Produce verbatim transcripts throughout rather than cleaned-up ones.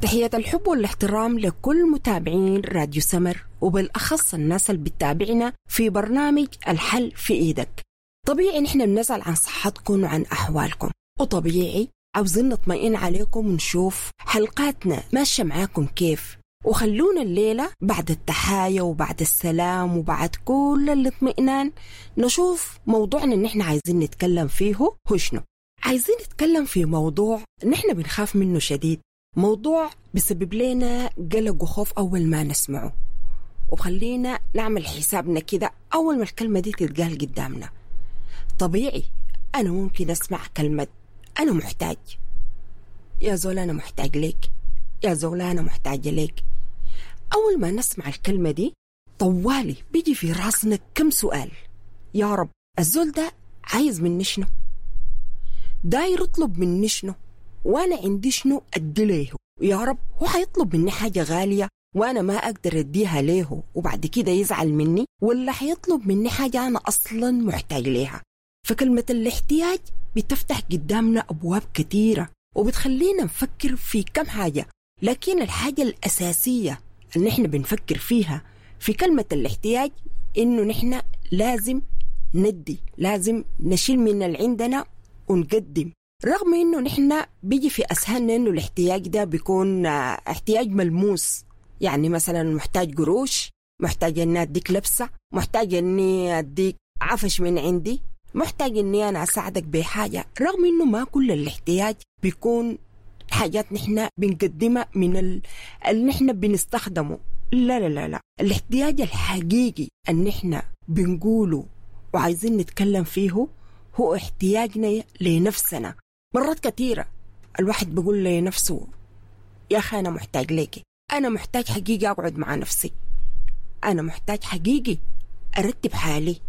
تحية الحب والاحترام لكل متابعين راديو سمر، وبالأخص الناس اللي بتتابعنا في برنامج الحل في إيدك. طبيعي نحن بنسأل عن صحتكم وعن أحوالكم، وطبيعي عاوزين نطمئن عليكم ونشوف حلقاتنا ماشية معاكم كيف. وخلونا الليلة بعد التحايا وبعد السلام وبعد كل الاطمئنان نشوف موضوعنا اللي نحن عايزين نتكلم فيه هو شنو. عايزين نتكلم في موضوع نحن بنخاف منه شديد، موضوع بسبب لنا قلق وخوف أول ما نسمعه، وخلينا نعمل حسابنا كده أول ما الكلمة دي تتقال قدامنا. طبيعي أنا ممكن أسمع كلمة أنا محتاج، يا زول أنا محتاج ليك، يا زول أنا محتاجة ليك. أول ما نسمع الكلمة دي طوالي بيجي في راسنا كم سؤال. يا رب الزول ده عايز مني شنو؟ داير يطلب مني شنو؟ وأنا عندي شنو أدي ليه؟ يا رب هو حيطلب مني حاجة غالية وأنا ما أقدر أديها ليه وبعد كده يزعل مني، ولا حيطلب مني حاجة أنا أصلا محتاج ليها؟ فكلمة الاحتياج بتفتح قدامنا أبواب كثيرة وبتخلينا نفكر في كم حاجة، لكن الحاجة الأساسية اللي نحن بنفكر فيها في كلمة الاحتياج إنه نحن لازم ندي، لازم نشيل من اللي عندنا ونقدم، رغم إنه نحن بيجي في أسهلنا إنه الاحتياج ده بيكون احتياج ملموس، يعني مثلا محتاج قروش، محتاج إني أديك لبسة، محتاج إني أديك عفش من عندي، محتاج إني أنا أساعدك بحاجة، رغم إنه ما كل الاحتياج بيكون حاجات نحن بنقدمها من ال... اللي نحن بنستخدمه. لا لا لا لا، الاحتياج الحقيقي اللي نحن بنقوله وعايزين نتكلم فيه هو احتياجنا لنفسنا. مرات كثيرة الواحد بيقول لنفسه يا أخي أنا محتاج ليكي، أنا محتاج حقيقي أقعد مع نفسي، أنا محتاج حقيقي أرتب حالي،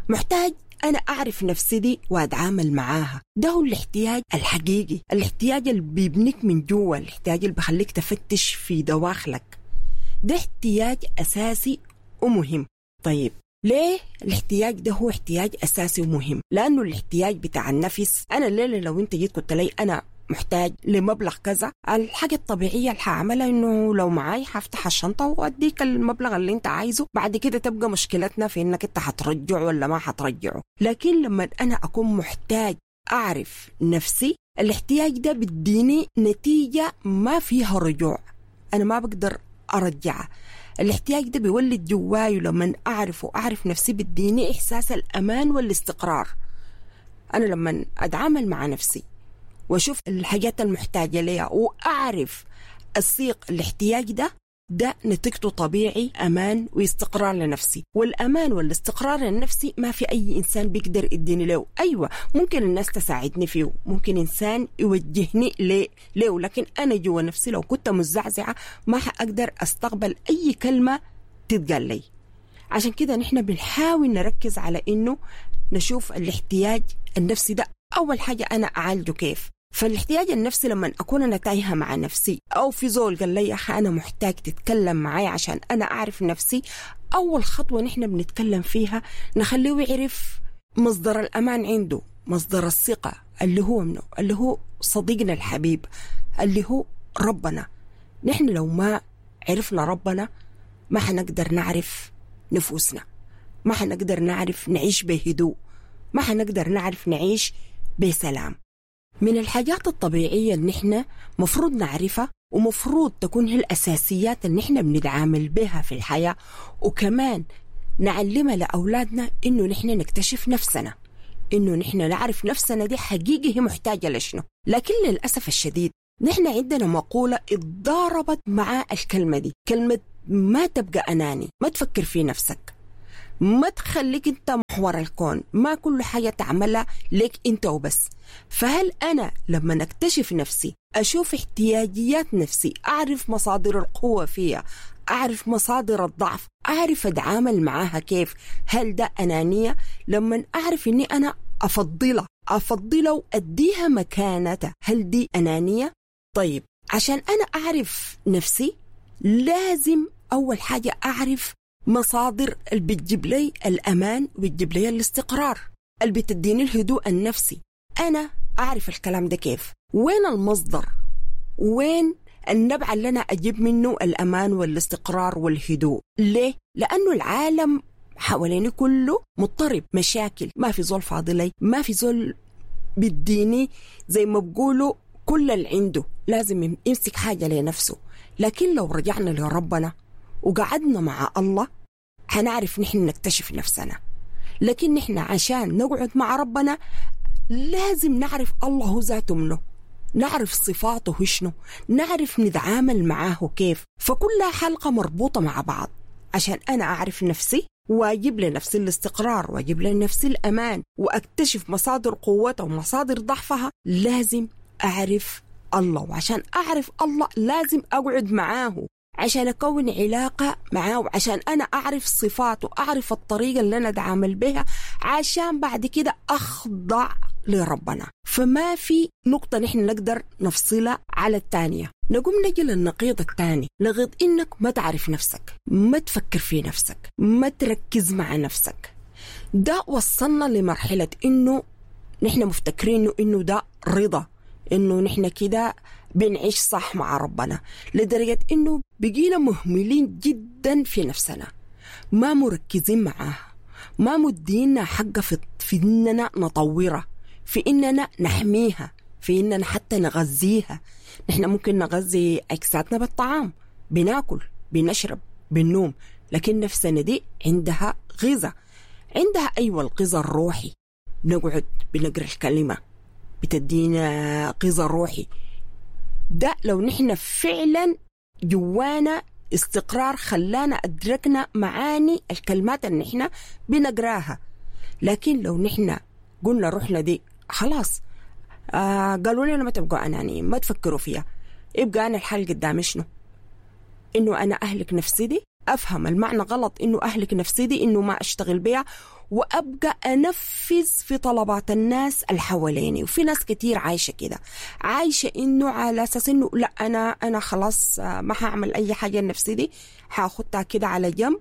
محتاج أنا أعرف نفسي دي وأتعامل معاها. ده هو الاحتياج الحقيقي، الاحتياج اللي بيبنيك من جوا، الاحتياج اللي بخليك تفتش في دواخلك. ده احتياج أساسي ومهم. طيب ليه الاحتياج ده هو احتياج أساسي ومهم؟ لأنه الاحتياج بتاع النفس، أنا الليلة لو أنت جيت قلت لي أنا محتاج لمبلغ كذا، الحاجة الطبيعية اللي هعملها إنه لو معاي هفتح الشنطة وأديك المبلغ اللي أنت عايزه، بعد كده تبقى مشكلتنا في إنك أنت هترجعه ولا ما هترجعه. لكن لما أنا أكون محتاج أعرف نفسي، الاحتياج ده بديني نتيجة ما فيها رجوع، أنا ما بقدر أرجعها. الاحتياج ده بيولد جواي، ولما أعرف وأعرف نفسي بديني إحساس الأمان والاستقرار. أنا لما أتعامل مع نفسي واشوف الحاجات المحتاجة ليها وأعرف الصيغ الاحتياج ده، ده نتيجته طبيعي أمان واستقرار لنفسي. والأمان والاستقرار النفسي ما في أي إنسان بيقدر يديني له. أيوة ممكن الناس تساعدني فيه، ممكن إنسان يوجهني ليه ليه، لكن أنا جوا نفسي لو كنت مزعزعة ما حأقدر أستقبل أي كلمة تتقال لي. عشان كده نحن بنحاول نركز على إنه نشوف الاحتياج النفسي ده أول حاجة أنا أعالجه كيف. فالاحتياج النفسي لما أكون أنا تايهة مع نفسي، أو في زول قال لي يا أخي أنا محتاج تتكلم معي عشان أنا أعرف نفسي، أول خطوة نحن بنتكلم فيها نخليه يعرف مصدر الأمان عنده، مصدر الثقة اللي هو منه، اللي هو صديقنا الحبيب، اللي هو ربنا. نحن لو ما عرفنا ربنا ما حنقدر نعرف نفوسنا، ما حنقدر نعرف نعيش بهدوء، ما حنقدر نعرف نعيش بسلام. من الحاجات الطبيعية اللي نحن مفروض نعرفها ومفروض تكون هي الأساسيات اللي نحن بنتعامل بها في الحياة، وكمان نعلمها لأولادنا، إنه نحن نكتشف نفسنا، إنه نحن نعرف نفسنا دي حقيقي هي محتاجة لشنو. لكن للأسف الشديد نحن عندنا مقولة اتضاربت مع الكلمة دي، كلمة ما تبقى أناني، ما تفكر في نفسك، ما تخليك انت محور الكون، ما كل حاجة تعملها لك انت وبس. فهل أنا لما نكتشف نفسي، أشوف احتياجيات نفسي، أعرف مصادر القوة فيها، أعرف مصادر الضعف، أعرف أتعامل معاها كيف، هل ده أنانية؟ لما أعرف أني أنا أفضلها أفضلها وأديها مكانتها، هل دي أنانية؟ طيب عشان أنا أعرف نفسي لازم أول حاجة أعرف مصادر اللي بتجيب لي الأمان وبتجيب لي الاستقرار، اللي بتديني الهدوء النفسي. أنا أعرف الكلام ده كيف؟ وين المصدر؟ وين النبع اللي أنا أجيب منه الأمان والاستقرار والهدوء. ليه؟ لأنه العالم حواليني كله مضطرب، مشاكل، ما في زول فاضي لي، ما في زول بيديني زي ما بقولوا كل اللي عنده، لازم يمسك حاجة لنفسه. لكن لو رجعنا لربنا وقعدنا مع الله هنعرف نحن نكتشف نفسنا. لكن نحن عشان نقعد مع ربنا لازم نعرف الله هو ذاته منه، نعرف صفاته شنو، نعرف نتعامل معاه كيف. فكلها حلقة مربوطة مع بعض عشان أنا أعرف نفسي وأجيب لنفسي الاستقرار وأجيب لنفسي الأمان وأكتشف مصادر قوتها ومصادر ضعفها. لازم أعرف الله، وعشان أعرف الله لازم أقعد معاه عشان أكون علاقة معاه، وعشان أنا أعرف صفاته، أعرف الطريقة اللي أنا أتعامل بها، عشان بعد كده أخضع لربنا. فما في نقطة نحن نقدر نفصلها على الثانية. نقوم نجي للنقيض الثاني، نقيض إنك ما تعرف نفسك، ما تفكر في نفسك، ما تركز مع نفسك. ده وصلنا لمرحلة إنه نحن مفتكرين إنه ده رضا، إنه نحن كده بنعيش صح مع ربنا، لدرجة إنه بقينا مهملين جدا في نفسنا، ما مركزين معاها، ما مدينا حقه في, في إننا نطورها، في إننا نحميها، في إننا حتى نغذيها. نحن ممكن نغذي أجسادنا بالطعام، بناكل، بنشرب، بنوم، لكن نفسنا دي عندها غذاء، عندها أيوة الغذاء الروحي. نقعد بنقرأ الكلمة بتدينا غذاء روحي. ده لو نحن فعلا جوانا استقرار خلانا أدركنا معاني الكلمات اللي نحن بنقراها. لكن لو نحن قلنا روحنا دي خلاص، آه قالوا لنا ما تبقوا أنانيين، ما تفكروا فيها، يبقى أنا الحل قدامي شنو؟ إنه أنا أهلك نفسي دي، أفهم المعنى غلط، إنه أهلك نفسي دي إنه ما أشتغل بيها وأبقى أنفذ في طلبات الناس اللي حواليني. وفي ناس كتير عايشة كده، عايشة إنه على أساس إنه لا أنا أنا خلاص ما هعمل أي حاجة لنفسي دي، هاخدها كده على جنب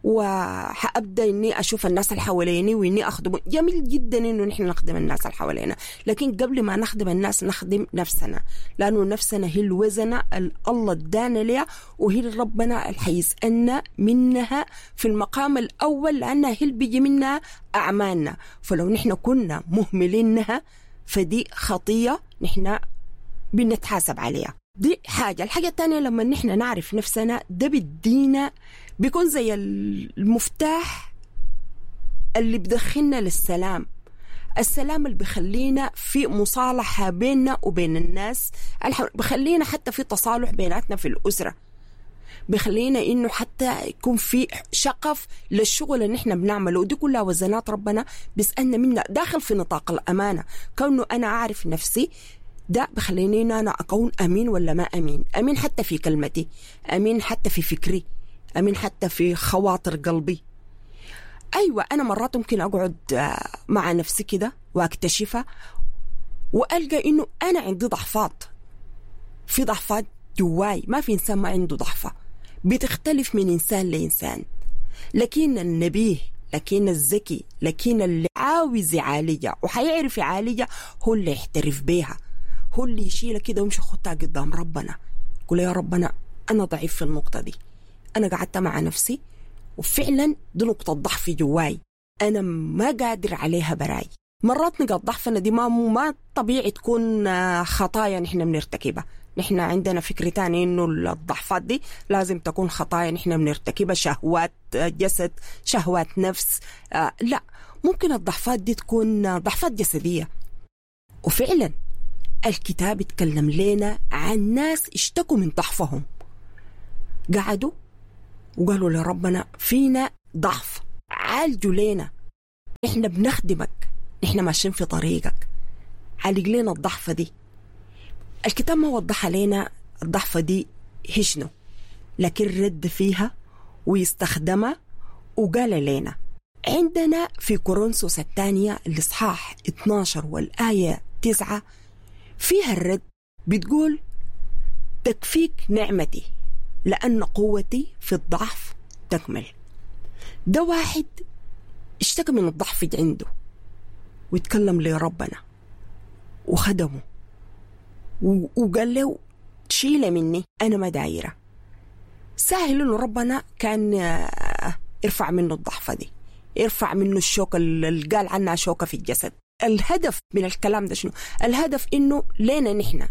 وحأبدأ إني أشوف الناس اللي حواليني وإني أخدم. جميل جدا إنه نحن نخدم الناس اللي حوالينا، لكن قبل ما نخدم الناس نخدم نفسنا، لأنه نفسنا هي الوزنة اللي الله ادانا ليها، وهي ربنا اللي حيسألنا منها في المقام الأول، لأنها هي اللي بيجي منها أعمالنا. فلو نحن كنا مهملينها فدي خطية نحن بنتحاسب عليها. دي حاجة. الحاجة الثانية لما نحن نعرف نفسنا ده بدينا بيكون زي المفتاح اللي بدخلنا للسلام، السلام اللي بخلينا في مصالحة بيننا وبين الناس، بخلينا حتى في تصالح بيناتنا في الأسرة، بخلينا إنه حتى يكون في شقف للشغل اللي نحن بنعمله. ودي كلها وزنات ربنا بيسألنا منها داخل في نطاق الأمانة. كونه أنا أعرف نفسي ده بخليني إن أنا أكون أمين ولا ما أمين، أمين حتى في كلمتي، أمين حتى في فكري، أمين حتى في خواطر قلبي. أيوة أنا مرات ممكن أقعد مع نفسي كده وأكتشفها وألقى إنه أنا عندي ضعفات، في ضعفات جواي، ما في إنسان ما عنده ضعفة، بتختلف من إنسان لإنسان. لكن النبيه، لكن الذكي، لكن اللي عاوز يعالجها وحيعرف يعالجها هو اللي يحترف بيها، هو اللي يشيلها كده ويمشي خطها قدام ربنا، يقول يا ربنا أنا ضعيف في النقطة دي، أنا قعدت مع نفسي وفعلا دي نقطة ضعف جواي، أنا ما قادر عليها براي. مرات نقاط ضعفنا دي ما ما طبيعي تكون خطايا نحن بنرتكبها. نحن عندنا فكرة تانية إنه الضعفات دي لازم تكون خطايا نحن بنرتكبها، شهوات جسد، شهوات نفس. آه لا، ممكن الضعفات دي تكون ضعفات جسدية. وفعلا الكتاب اتكلم لنا عن ناس اشتكوا من ضعفهم، قعدوا وقالوا لربنا فينا ضعف، عالجوا لنا، احنا بنخدمك، احنا ماشيين في طريقك، عالج لنا الضعفة دي. الكتاب ما وضح لنا الضعفة دي هي شنو، لكن رد فيها ويستخدمها وقال لنا. عندنا في كورنثوس الثانية الإصحاح اثناشر والآية تسعة فيها الرد، بتقول تكفيك نعمتي لأن قوتي في الضعف تكمل. ده واحد اشتكى من الضعف عنده ويتكلم لربنا وخدمه وقال له شيلة مني أنا ما دايرة. سهل إنه ربنا كان يرفع منه الضعفة دي، يرفع منه الشوكة اللي قال عنها شوكة في الجسد. الهدف من الكلام ده شنو؟ الهدف إنه لينا نحن.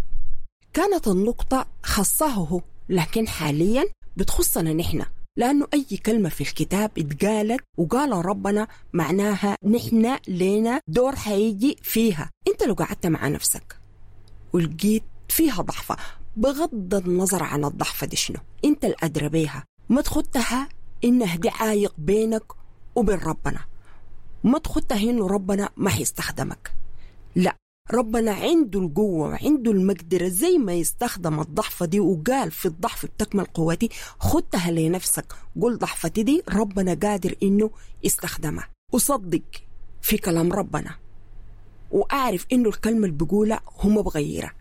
كانت النقطة خاصه هو، لكن حاليا بتخصنا نحن، لأنه أي كلمة في الكتاب اتقالت وقال ربنا معناها نحن لينا دور حيجي فيها. أنت لو قعدت مع نفسك ولقيت فيها ضعفة، بغض النظر عن الضعفة دي شنو، أنت الأدرى بيها، ما تخدتها إنها دي عايق بينك وبين ربنا، ما تخدتها إنه ربنا ما حيستخدمك. لا، ربنا عنده القوة وعنده المقدرة زي ما يستخدم الضعفة دي، وقال في الضعف بتكمل قوتي. خدتها لنفسك، قول ضعفتي دي ربنا قادر إنه يستخدمها، وصدق في كلام ربنا، وأعرف إنه الكلمة اللي بقولها هم بغيرها.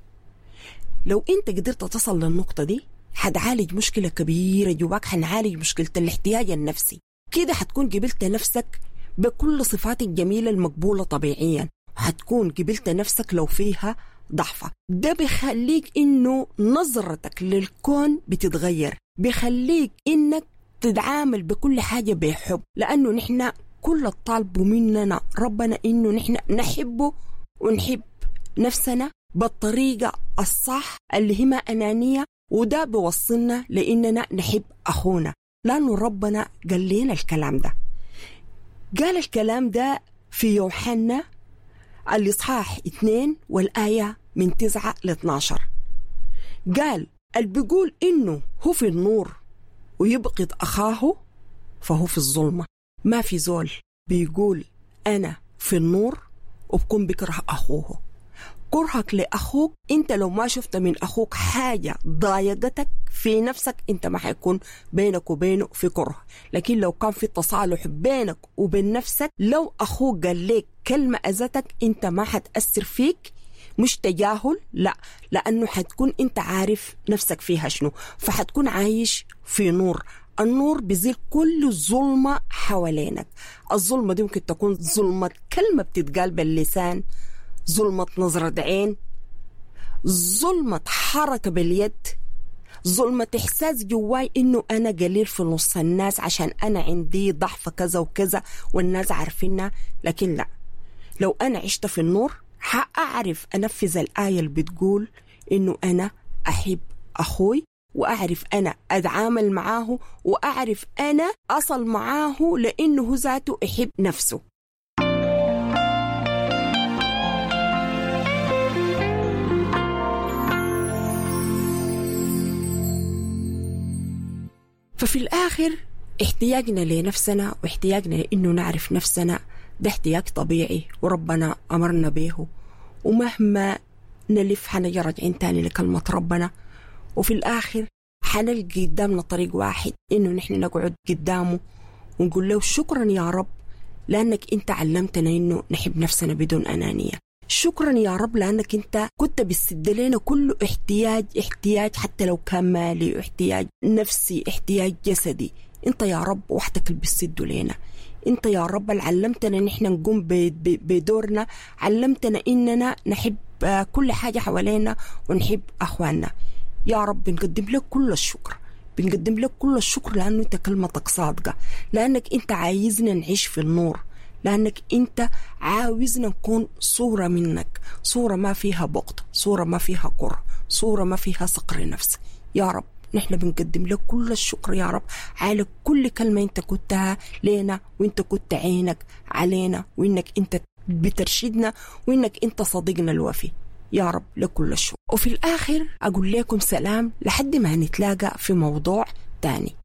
لو أنت قدرت تصل للنقطة دي حتعالج مشكلة كبيرة جواك، حنعالج مشكلة الاحتياج النفسي. كده حتكون قبلت نفسك بكل صفات الجميلة المقبولة طبيعيا، حتكون قبلت نفسك لو فيها ضعفة. ده بيخليك إنه نظرتك للكون بتتغير، بيخليك إنك تتعامل بكل حاجة بحب، لأنه نحن كل الطالب مننا ربنا إنه نحن نحبه ونحب نفسنا بالطريقة الصح اللي هي ما أنانية، وده بيوصلنا لإننا نحب أخونا، لأنه ربنا قال لنا الكلام ده. قال الكلام ده في يوحنا الإصحاح اثنين والآية من تسعة لاثناشر. قال اللي بيقول إنه هو في النور ويبغض أخاه فهو في الظلمة. ما في زول بيقول أنا في النور وبكون بكره أخوه. كرهك لأخوك، أنت لو ما شفت من أخوك حاجة ضايقتك في نفسك أنت ما حيكون بينك وبينه في كره. لكن لو كان في تصالح بينك وبين نفسك، لو أخوك قال لك كلمة أذتك أنت ما حتأثر فيك، مش تجاهل، لا، لأنه حتكون أنت عارف نفسك فيها شنو، فحتكون عايش في نور. النور بيزيل كل الظلمة حوالينك. الظلمة دي ممكن تكون ظلمة كلمة بتتقال باللسان، ظلمة نظرة عين، ظلمة حركة باليد، ظلمة إحساس جواي إنه أنا قليل في نص الناس عشان أنا عندي ضعف كذا وكذا والناس عارفينها. لكن لا، لو أنا عشت في النور حأعرف أنفذ الآية اللي بتقول إنه أنا أحب أخوي، وأعرف أنا أتعامل معاه، وأعرف أنا أصل معاه، لأنه هو ذاته يحب نفسه. ففي الآخر احتياجنا لنفسنا واحتياجنا لأنه نعرف نفسنا ده احتياج طبيعي وربنا أمرنا به، ومهما نلف حنجي راجعين تاني لكلمة ربنا، وفي الآخر حنلقي قدامنا طريق واحد إنه نحن نقعد قدامه ونقول له شكرا يا رب لأنك أنت علمتنا إنه نحب نفسنا بدون أنانية. شكرا يا رب لأنك أنت كنت بتسد لنا كل احتياج، احتياج حتى لو كان مالي، احتياج نفسي، احتياج جسدي. أنت يا رب وحدك اللي بتسده لنا. أنت يا رب اللي علمتنا إن إحنا نقوم بدورنا، علمتنا إننا نحب كل حاجة حوالينا ونحب أخواننا. يا رب بنقدم لك كل الشكر، بنقدم لك كل الشكر لأنه أنت كلمتك صادقة، لأنك أنت عايزنا نعيش في النور، لأنك أنت عاوزنا نكون صورة منك، صورة ما فيها بغض، صورة ما فيها كره، صورة ما فيها صقر نفس. يا رب نحن بنقدم لك كل الشكر يا رب على كل كلمة أنت كنتها لنا، وأنت كنت عينك علينا، وإنك أنت بترشدنا، وإنك أنت صديقنا الوفي. يا رب لكل الشكر. وفي الآخر أقول لكم سلام لحد ما نتلاقى في موضوع تاني.